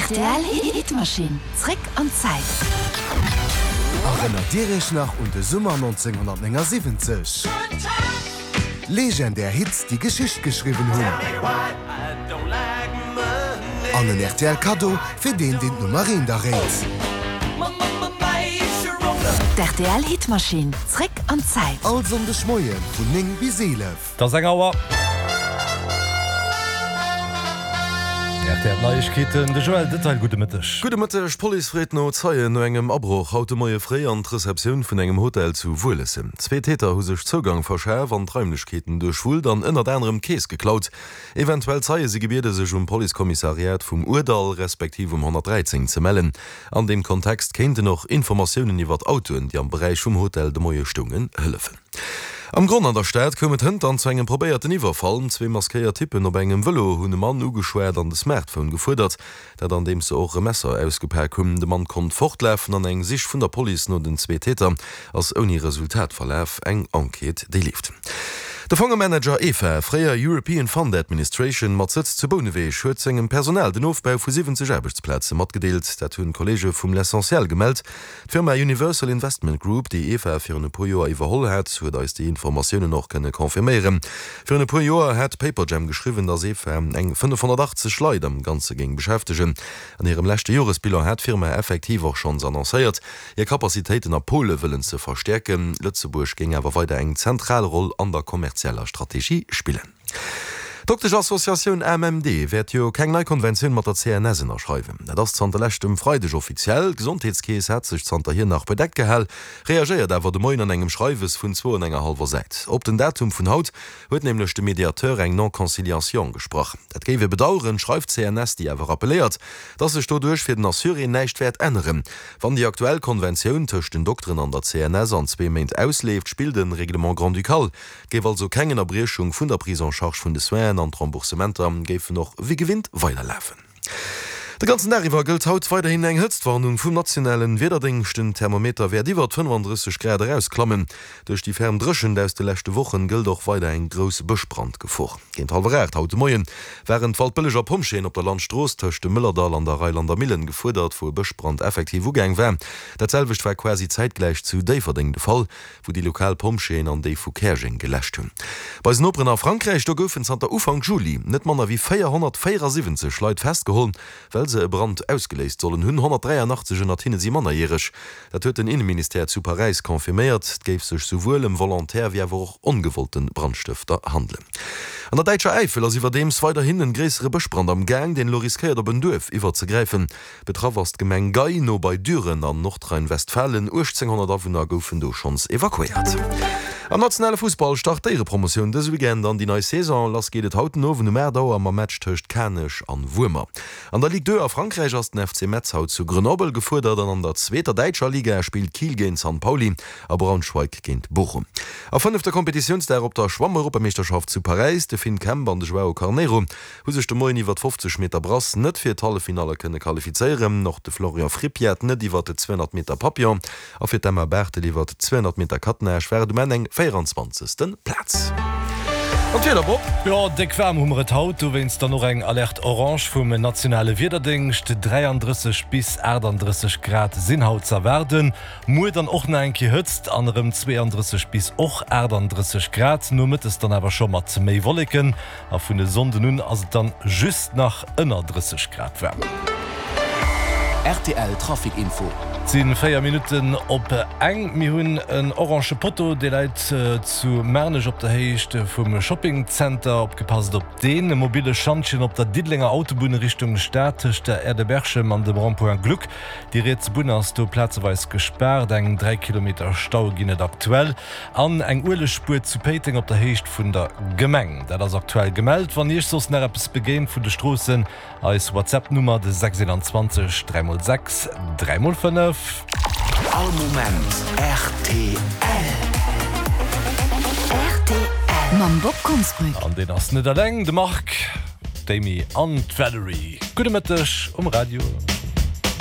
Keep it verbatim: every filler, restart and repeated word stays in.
Rtl Hitmaschinn, zréck an d'Zäit. Erënnert Dir Iech nach un de Summer nonzénghonnertnéngasiwwenzeg? Legendär Hits, déi Geschicht geschriwwen hunn. An en rtl Kaddo fir deen, deen d'Nummer eent erréit. D'RTL Hitmaschinn, zréck an d'Zäit. All Sonndeg Moie vun néng bis eelef. Et ass eng Auer. Rtl Neiegkeeten, de Joël Detail, gudde Mëtteg. Gudde Mëtteg, D'Police freet no Zeien no engem Abroch haut de Moie fréi an d'Receptioun vun engem Hotel zu Wuelessen. Zwee Täter hu sech Zougang verschaf an d'Raimlechkeeten duerchwullt an ënnert anerem d'Keess geklaut. Eventuell Zeie si gebiede sech um Policekommissariat vum Ourdall respektiv um honnertdräizéng ze mellen. An deem Kontext kéinten och Informatiounen iwwert Autoen, déi am Beräich vum Hotel de Moie stoungen, hëllefen. Am Gronn an der Stad koum et hënt dann zu engem probéierten Iwwerfall. Zwee maskéiert Typpen op engem Vëlo hunn e Mann ugeschwat an de Smartphone gefuerdert. Dat andeems se och e Messer ausgepak hunn. De Mann konnt fortlafen an eng Sich vun der Police no den zwee Täter ass ouni Resultat verlaf. Eng Enquête déi leeft. De Fongemanager EFA, fréier European Fund Administration, mat Sëtz zu Bouneweg, huet sengem Personal den Ofbau vu siwwenzeg Aarbechtsplaze matgedeelt. Dat hunn d'Kolleege vum L'Essentiel gemellt. D'Firma Universal Investment Group, déi EFA virun e puer Joer iwwerholl hat, huet eis déi Informatiounen och kënne confirméieren. Virun e puer Joer hat Paperjam geschriwwen, datt EFA eng fënnefhonnertachtzeg Leit am Ganze géing beschäftegen. An hirem leschte Joresbilan hat d'Firma effektiv och schonns annoncéiert, hir Capacitéiten a Pole wëllen ze verstäerken. Lëtzebuerg géing awer weider eng zentral Roll an der kommerzieller Strategie spillen. D'Dokteschassociatioun A M M D wäert jo keng nei Konventioun mat der C N S ënnerschreiwen. Dat ass zanter leschtem Freideg offiziell. D'Gesondheetskeess hat sech zanterhier nach bedeckt gehal, reagéiert awer de Moien an engem Schreiwes vun zwou an enger hallwer Säit. Op den Datum vun haut huet nämlech de Mediateur eng Non-conciliation gesprach. Dat géif e bedaueren, schreift d'C N S, déi awer rappelléiert, dass sech doduerch fir den Assuré näischt wäert änneren. Wann déi aktuell Konventioun tëscht den Dokteren an der C N S an zwee Méint ausleeft, spillt de Règlement grand-ducal. Et géif also keng Ënnerbriechung vun der Prise en charge vun de Soinen an d'Remboursementer géifen och wéi gewinnt weiderlafen. De ganzen Dag iwwer gëllt haut weiderhin eng Hëtztwarnung vum nationalen Wiederdéngscht. Den Thermometer wäert iwwert fënnefandrësseg Grad erausklammen. Duerch déi ferm Dréchent aus de leschte Wochen gëllt och weider eng grouss Bëschbrandgefor. Géint hallwer aacht haut de Moien waren d'Waldbëlleger Pompjeeën op der Landstrooss tëscht dem Mëllerdall an der Reilander Millen gefuerdert, wou e Bëschbrand effektiv ugaang war. Dat selwecht war quasi zäitgläich zu Déifferdeng de Fall, wou déi lokal Pompjeeën an déi vu Käerjeng geläscht hunn. Bei eisen Noperen a Frankräich, do goufen zanter Ufank Juli net manner wéi véierhonnertvéierasiwwenzeg Leit festgeholl, well se e Brand ausgeléist sollen hunn. honnertdräianachtzeg ënnert hinne si mannerjäreg. Dat huet den Inneministère zu Paräis confirméiert. Et géif sech souwuel ëm volontaire wéi awer och ongewollte Brandstëfter handelen. An der däitscher Äifel ass iwwerdeems weiderhin en gréissere Bëschbrand am Gaang, deen elo riskéiert op en Duerf iwwerzegräifen. Betraff ass d'Gemeng Gey no bei Düren an Nordrhein-Westfalen. uechtzénghonnert Awunner goufen do schonns evakuéiert. Am nationale Fussball start d'Éierepromotioun dëse Weekend an déi nei Saison. Lass geet et haut den Owend um aacht Auer mam Match tëscht Kanech an Wuermer. An der Ligue deux a Frankräich ass den F C Metz haut zu Grenoble gefuerdert an an der zweeter däitscher Liga spillt Kiel géint Sankt Pauli a Braunschweig géint Bochum. A fënnefte Kompetitiounsdag op der Schwammeuropameeschterschaft zu Paräis, de Finn Kemp an de Joao Carneiro hu sech de Moien iwwer d'fofzeg Meter Brass net fir d'Halleffinalle kënne qualifizéieren. Och de Florian Frippiat net iwwer de zweehonnert Meter Papillon a fir d'Emma Barthel iwwer zweehonnert Meter Kattnage war et um Enn eng véieranzwanzegste. Plaz. An d'Wieder, Bob? Jo, déck waarm hu mer et haut, dowéinst dann och eng Alerte orange vum nationale Wiederdéngscht. dräiandrësseg bis aachtanddrësseg Grad sinn haut z'erwaarden. Muer dann och nach eng Kéier Hëtzt an erëm zweeandrësseg bis och aachtanddrësseg Grad, nomëttes dann awer scho mat méi Wolleken. A vun e Sonnden un ass et dann just nach ënner drësseg Grad waarm. R T L Trafic Info. Et si véier Minutten op eng. Mir hunn en orange Potto, dee läit zu Maarnech op der Héicht vum Shoppingzenter. Opgepasst op deen. E mobile Schantjen op der Diddelenger Autobunn Richtung Stad tëscht der Aire de Berchem an dem Rond-point Gluck. Déi riets Bunn ass do plazeweis gespaart. Eng dräi Kilometer Stau ginn et aktuell. An eng Uelegspuer zu Péiteng op der Héicht vun der Gemeng. Dat ass aktuell gemellt. Wann Iech soss nach eppes begéint vun de Stroossen, eis WhatsApp-Nummer de sechs een zwanzeg dräi mol sechs dräi mol fënnef. All Moment R T L. R T L mam Bob Konsbrück. An deen ass net eleng, de Marc, d'Amy an d'Valerie. Gudde Mëtteg um Radio.